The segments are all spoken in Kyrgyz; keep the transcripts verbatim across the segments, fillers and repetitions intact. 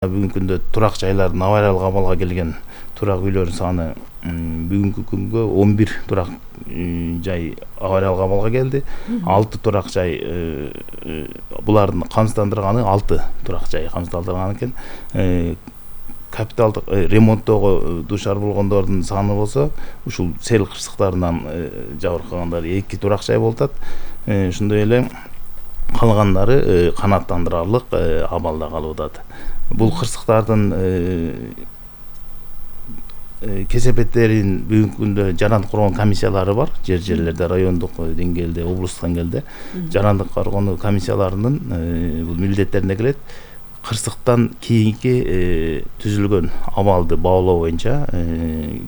Бүгүнкү күндө турак жайлардын авариялык абалга келген турак үйлөрдүн саны бүгүнкү күнгө он бир турак жай авариялык абалга келди. алты турак жай булардын камсыздандырганы алты турак жай камсыздандырган экен. Капиталдык ремонттоого дуушар болгондордун саны болсо ушул сел кырсыктарынан жабыркагандар эки турак жай болуп атат. Ошондой эле калгандары канааттандырарлык абалда калып атат. Бул кырсыктардын кесепеттерин бүгүнкү күндө жарандык коргоо комиссиялары бар. Жер жерлерде, райондук деңгээлде, облустук деңгээлде жарандык коргоо комиссияларынын бул милдеттерине келет. Кырсыктан кийинки түзүлгөн абалды баалоо боюнча,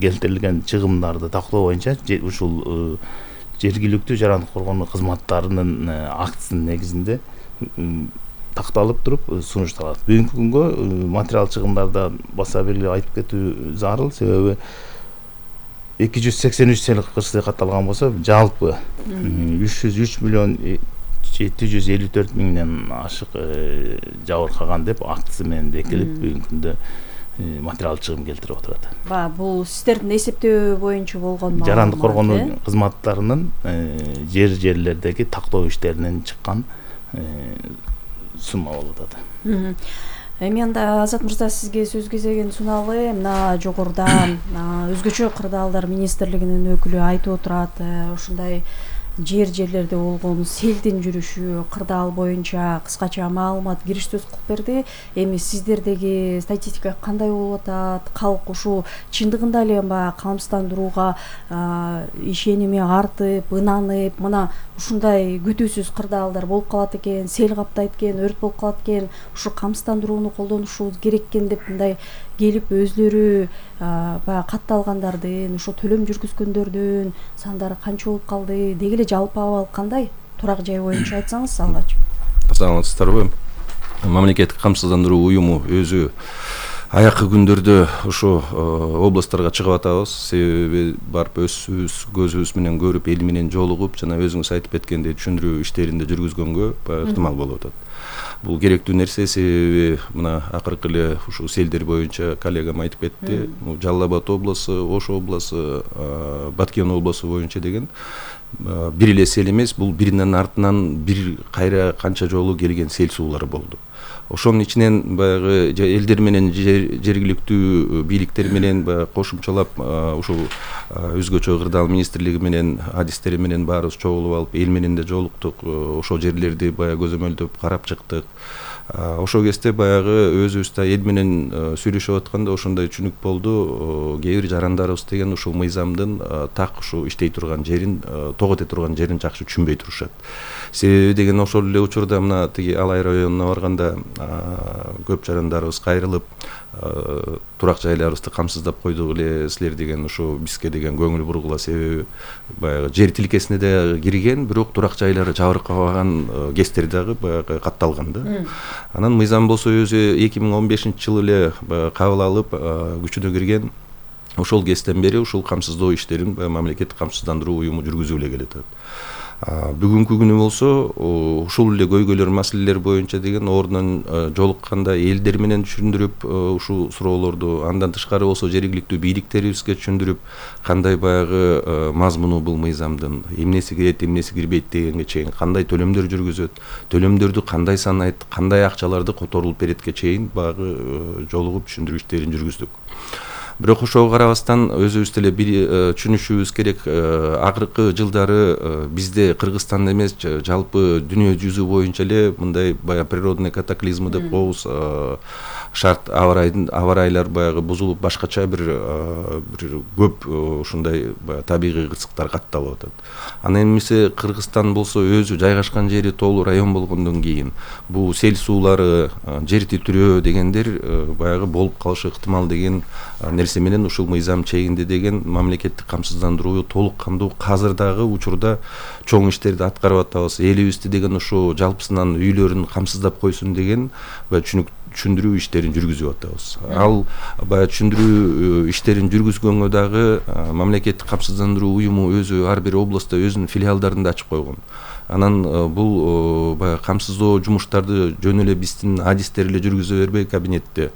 келтирилген чыгымдарды тактоо боюнча ушул жергиликтүү жарандык коргоо кызматтарынын актысынын негизинде такталып туруп сунушталат. Бүгүнкү күнгө материал чыгымдарда баса белгилеп айтып кетүү зарыл, себеби эки жүз сексен үч сел кырсык катталган болсо, жалпы үч жүз үч миллион жети жүз элүү төрт миңден ашык жабыркаган деп актысы менен бекитилип бүгүнкү күндө материал чыгым келтирип отурат. Ба, бул сиздердин эсептөө боюнча болгон маалымат. Жарандык коргоо кызматтарынын жер жерлердеги тактоо иштеринен чыккан сумма болуп атат. Эми анда Азат мырза, сизге сөз кезегин суналым. Мына жогоруда өзгөчө кырдаалдар министрлигинин өкүлү айтып отурат, ушундай жер жерлерде болгон селдин жүрүшү, кырдаал боюнча кыскача маалымат кириш сөз кылып берди. Эми сиздердеги статистика кандай болуп атат? Калк ушул чындыгында эле баягы камсыздандырууга ишеними артып, ынанып, мына ушундай күтүүсүз кырдаалдар болуп калат экен, сел каптайт экен, өрт болуп калат экен, ушу камсыздандырууну колдонушубуз керек экен деп мындай келип өзлөрү баягы катталгандардын, ошо төлөм жүргүзгөндөрдүн сандары канча болуп калды? Деги эле жалпы абал кандай? Турак жай боюнча айтсаңыз алгач. Саламатсыздарбы? Мамлекеттик камсыздандыруу уюму өзү аяккы күндөрдө ушу областтарга чыгып атабыз. Себеби барып өзүбүз көзүбүз менен көрүп, эл менен жолугуп, жана өзүңүз айтып кеткендей түшүндүрүү иштеринде жүргүзгөнгө ыктымал болуп атат. Бул керектүү нерсе, себеби мына акыркы эле ушул селдер боюнча коллегам айтып кетти. Жалал Абад областу, Ош областу, Баткен областу боюнча деген бир эле сел эмес, бул биринин артынан бир кайра канча жолу келген сел суулары болду. Ошонун ичинен баягы элдер менен жергиликтүү бийликтер менен баягы кошумчалап ушул өзгөчө кырдаал министрлиги менен адистери менен баарыбыз чогулуп алып, эл менен да жолуктук, ошол жерлерди баягы көзөмөлдөп карап чыктык. Ошол кезде баягы өзүбүз да эл менен сүйлөшүп атканда ошондой түшүнүк болду. Кээ бир жарандарыбыз деген ушул мыйзамдын так ушу иштей турган жерин, тогот эте турган жерин жакшы түшүнбөй турушат. Себеби деген ошол эле учурда мына тиги Алай районуна барганда көп жарандарыбыз кайрылып, турак жайларыбызды камсыздап койдук эле силер деген, ушу бизге деген көңүл бургула, себеби баягы жер тилкесине да кирген, бирок турак жайлары жабыркабаган кездер дагы баягы катталган да. Анан мыйзам болсо өзү эки миң он бешинчи жылы эле кабыл алып күчүнө кирген. Ошол кезден бери ушул камсыздоо иштерин мамлекеттик камсыздандыруу уюму жүргүзүп эле келет. Бүгүнкү күнү болсо ушул эле көйгөйлөр, маселелер боюнча деген ордунан жолукканда элдер менен түшүндүрүп ушул суроолорду, андан тышкары болсо жергиликтүү бийликтерибизге түшүндүрүп, кандай баягы мазмуну бул мыйзамдын, эмнеси кирет, эмнеси кирбейт дегенге чейин, кандай төлөмдөр жүргүзөт, төлөмдөрдү кандай санайт, кандай акчаларды которулуп беретке чейин баягы жолугуп түшүндүрүү иштерин жүргүздүк. Бирок ошого карабастан өзүбүз деле бир түшүнүшүбүз керек. Акыркы жылдары бизде Кыргызстанда эмес, жалпы дүйнө жүзү боюнча эле мындай баягы природный катаклизмы деп коебуз, шарт аба-ырайлар баягы бузулуп, башкача бир бир көп ушундай табигый кырсыктар катталып атат. Анан эмесе Кыргызстан болсо өзү жайгашкан жери тоолуу район болгондон кийин бул сел суулары, жер титирөө дегендер баягы болуп калышы ыктымал деген нерсе менен ушул мыйзам чегинде деген мамлекеттик камсыздандыруу толук кандуу азыр дагы учурда чоң иштерди аткарып атабыз. Элибизди деген ушу жалпысынан үйлөрүн камсыздап койсун деген түшүнүк түшүндүрүү иштерин жүргүзүп атабыз. Ал баягы түшүндүрүү иштерин жүргүзгөнгө дагы мамлекеттик камсыздандыруу уюму өзү ар бир областта өзүнүн филиалдарын да ачып койгон. Анан бул баягы камсыздоо жумуштарды жөн эле биздин адистер эле жүргүзө бербей кабинетте